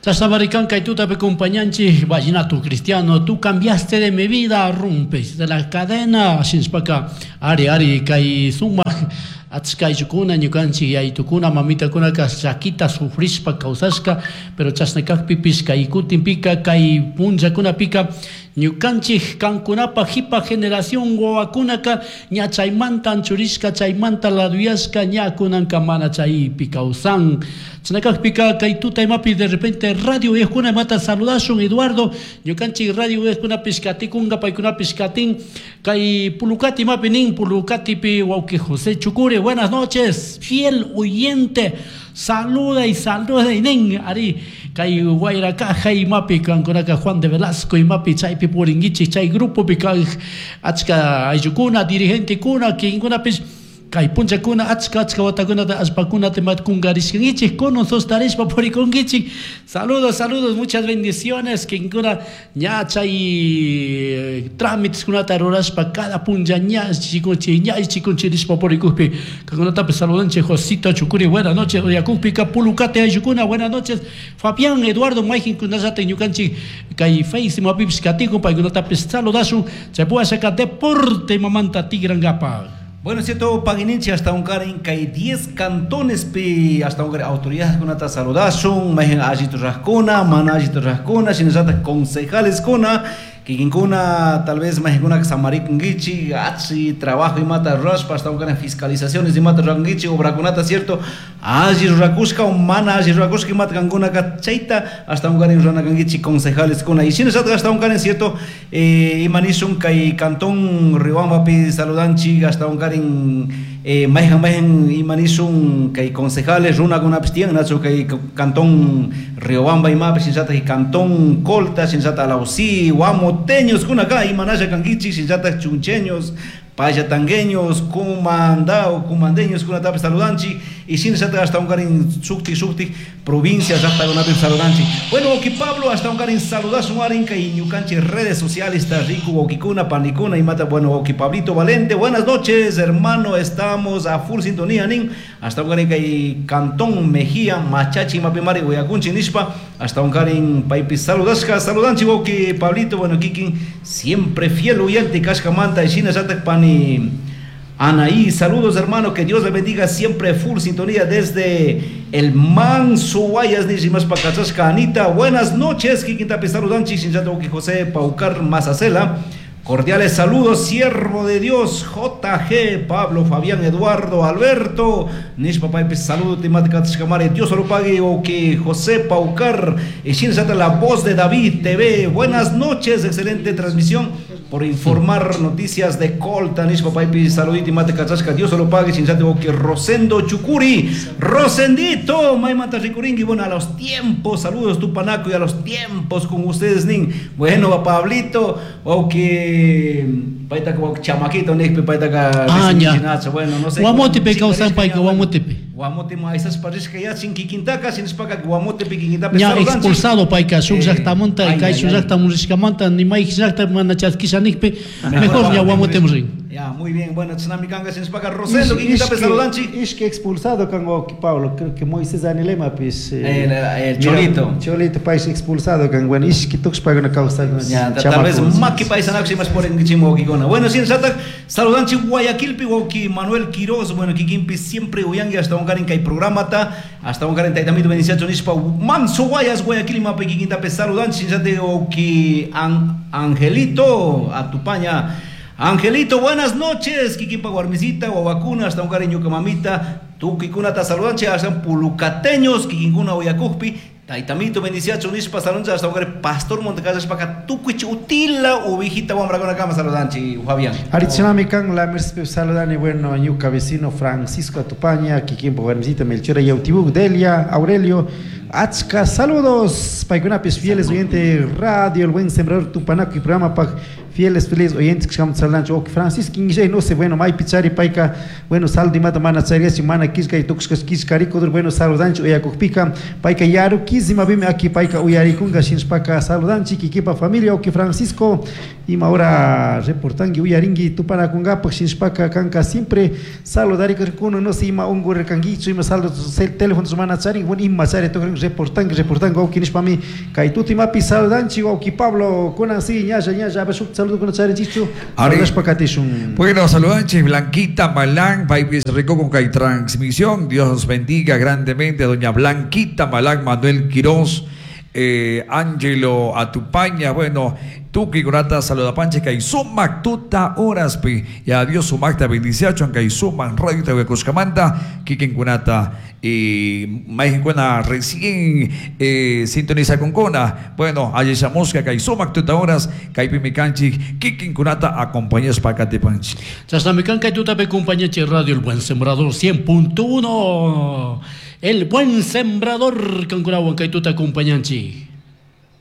Chashnamari kan kay tutapi compañanchik vallenato cristiano, tú cambiaste de mi vida, rompes de la cadena, shinashpaka ari ari kay sumak achka ayllukuna ñukanchik yayitukuna mamitakunaka llakita sufrishpa kawsashka, pero chashna kakpipish kay kutinpika kay punllakunapika ñukanchik kankunapa jipa generación wawakunaka ña chaymanta anchurishka, chaymanta laduyashka, ña kunanka mana chaypi kawsan. Chashna kakpika kay tuta imapi de repente radio uyajkuna imata saludashun Eduardo, ñukanchik radio uyajkunapish katikunka, paykunapish katin kay Pulucati imapi nin, Pulucatipi wawki José Chucuri, buenas noches, fiel oyente, saluda y saluda y nin, ari kay Guayracaja imapi kankunaka Juan de Velasco imapi chaypi purinkichik chay grupopi kay achka ayllukuna dirigentekuna kikinkunapish kay punllakuna achka achka watakunata allpakunata imata kunkarishkankichik kunan sostarishpa purikunkichik. Saludos, saludos, muchas bendiciones kikinkuna ña chay trámites kunata rurashpa cada punlla ña chikunchik ña chikunchik nishpa purikukpi kankunatapish saludanchik. Josito Chucuri, buenas noches, uyakukpika Pulucate ayllukuna, buenas noches. Fabián Eduardo mayqinkunallatak ñukanchik kay Face imapipish katikun paykunatapish saludashun. Chay puwashaka deporte imamanta tigrankapak. Bueno, cierto, pagininchi hasta un karin kay 10 cantones pi hasta un karin autoridades kunata saludashun, mayqin allitu rajkuna, mana allitu rajkuna, shinallatak concejales kuna, kikinkuna tal vez mayqinkuna samarikunkichik, achi trabajo imata rurashpa hasta un karin fiscalizaciones imata rurankichik, obrakunata, cierto, alli rurakushka o mana alli rurakushka imata kankunaka chayta hasta un karin ruranakankichik concejales kuna. Y shinallatak hasta un karin, cierto, imanishun kay cantón Riobambapi saludanchik hasta un karin mayqin mayqin imanishun kay concejales runakunapis tiyan, nachu kay cantón Riobamba imapi, shinallatak cantón Colta, shinallatak Alausí, Guamoteños kunaka imanasha kankichik, shinallatak chuncheños, payatangueños, cumandao, cumandeños kunatapis saludanchik, y shinallatak hasta un karin shuktik shuktik provincia llaqtakunapi saludanchik. Bueno, wawki Pablo, hasta un karin saludashun arin kay ñukanchik redes sociales está rico wawkikuna, panikuna imata. Bueno, wawki Pablito Valente, buenas noches, hermano, estamos a full sintonía nin, hasta un karin kay Cantón Mejía, Machachi mapimari uyakunchik nishpa, hasta un karin paypi saludashka, saludanchik wawki Pablito, bueno, kikin siempre fiel oyente kashkamanta, y shinallatak pani Anaí, saludos hermano, que Dios le bendiga, siempre full sintonía desde el Manso Guayas, Nishimas Pacachasca, Anita, buenas noches, Kikintapi saludanchi, Shinchato José Paucar Mazacela, cordiales saludos, siervo de Dios, JG, Pablo, Fabián, Eduardo, Alberto, Nish Papá, saludo, Timatica Tishkamare, Dios lo pague, Oki José Paucar, y Shinchata, la voz de David TV, buenas noches, excelente transmisión, por informar noticias de Colta, Nish Papá, saludito, Timatica Tishka, Dios lo pague, Shinchata, Oki Rosendo Chucuri, Rosendito, Maymanta Ricuringui, bueno, a los tiempos, saludos Tupanaco y a los tiempos con ustedes, Nin, bueno, Pablito, Oki, paita como chamaquito, Nik, paita ka, Ah, ya. bueno, no sé. Guamotepe kawsan payka, Guamotepe. Guamote ma esas parishka ya sin kikintaka, sin spaka Guamotepe kikintape Ña saludanchik. expulsado payka shuk llaqtamanta, Ay, kay ay, shuk ay. llaqtamun rishkamanta, ni may llaqta mana chaskisha nikpi, mejor ña Guamoteman rin. Ya, muy bien, bueno, tsunami kanga sin spaka Rosendo kikintape saludanchik. Ishki expulsado kan wawki Pablo, creo que Moisés Anilema pis, El mira, Cholito. Cholito pais expulsado kan, bueno, ishki tuxpa kuna kawsakuna, Ya, tal vez chamaco. maki paisanaku más por en chimo wawkikuna. Bueno, sin satak saludanchik Guayaquilpi wawki Manuel Quiroz, bueno, kikinpi siempre uyangi hasta un karin kay programata, hasta un karin taytamito beniciacho nishpa Manso Guayas Guayaquil mapi kikintape saludanchik sin sate wawki Angelito Atupaña. Angelito, buenas noches, Kikinpa guarmisita, guaguacuna, hasta un cariño que mamita, tuquicuna ta saludanche, hasta un pulucateños, kikinkuna uyacujpi, taitamito, bendiciacho, nishpa, saludanche, hasta un cariño, pastor Montecasas, paca, tucuich, utila, ubijita, guambracona, cama, saludanche, Fabián. Arichinami kan, la merced saludani, bueno, ñuca vecino Francisco Atupaña, Kikinpa guarmisita, Melchora, Yautibuk, Delia, Aurelio, Achka, saludos, paykunapis fieles oyente radio, el buen sembrador Tupanaco y programa pa fieles, fieles oyentes que estamos hablando, ok, Francisco, Inge, no sé, bueno, may pichari, payka, bueno, saldo y mata, mana, charias, mana, quisca y tuxcas, quisca, rico, bueno, saludanchi, uyakukpika, payka, yaru, quisima, bime, aquí, payka, uyarikunga, shinspaka, saludanchi, kikipa, familia, ok, Francisco, Ima hora reportangui uyaringui tupanakunkapaj shinashpaka kanka siempre saludarikuna no sé ima ungurirkanguichu ima saldo teléfono mana charin bueno ima chari tukurin reportangui reportangui wawki nishpami kay tutimapi saludanchik wawki Pablo kunan si ñalla ñalla a ver shuk saludokuna charinchikchu Ari. saludashpa katishun. Bueno, saludanchis Blanquita Malán, paipis rico con kay transmisión. Dios los bendiga grandemente, doña Blanquita Malán, Manuel Quirós, Ángelo Atupaña, bueno, Tuki Kurata, saludapanche, kay sumak tuta horaspi, y a Dios sumakta bendiciacho, kay suman radio Tahuacoscamanta, Kikin Kunata, y Majinkuna recién sintoniza con Kona, bueno, Ayesha kay sumak tuta horas, kay Pimicanchi, Kikin Kunata, acompañas Pacatepanchi. Chashnami kan kay tutapi compañeche Radio El Buen Sembrador 100.1. El Buen Sembrador kankunawan kay tuta acompañanchi.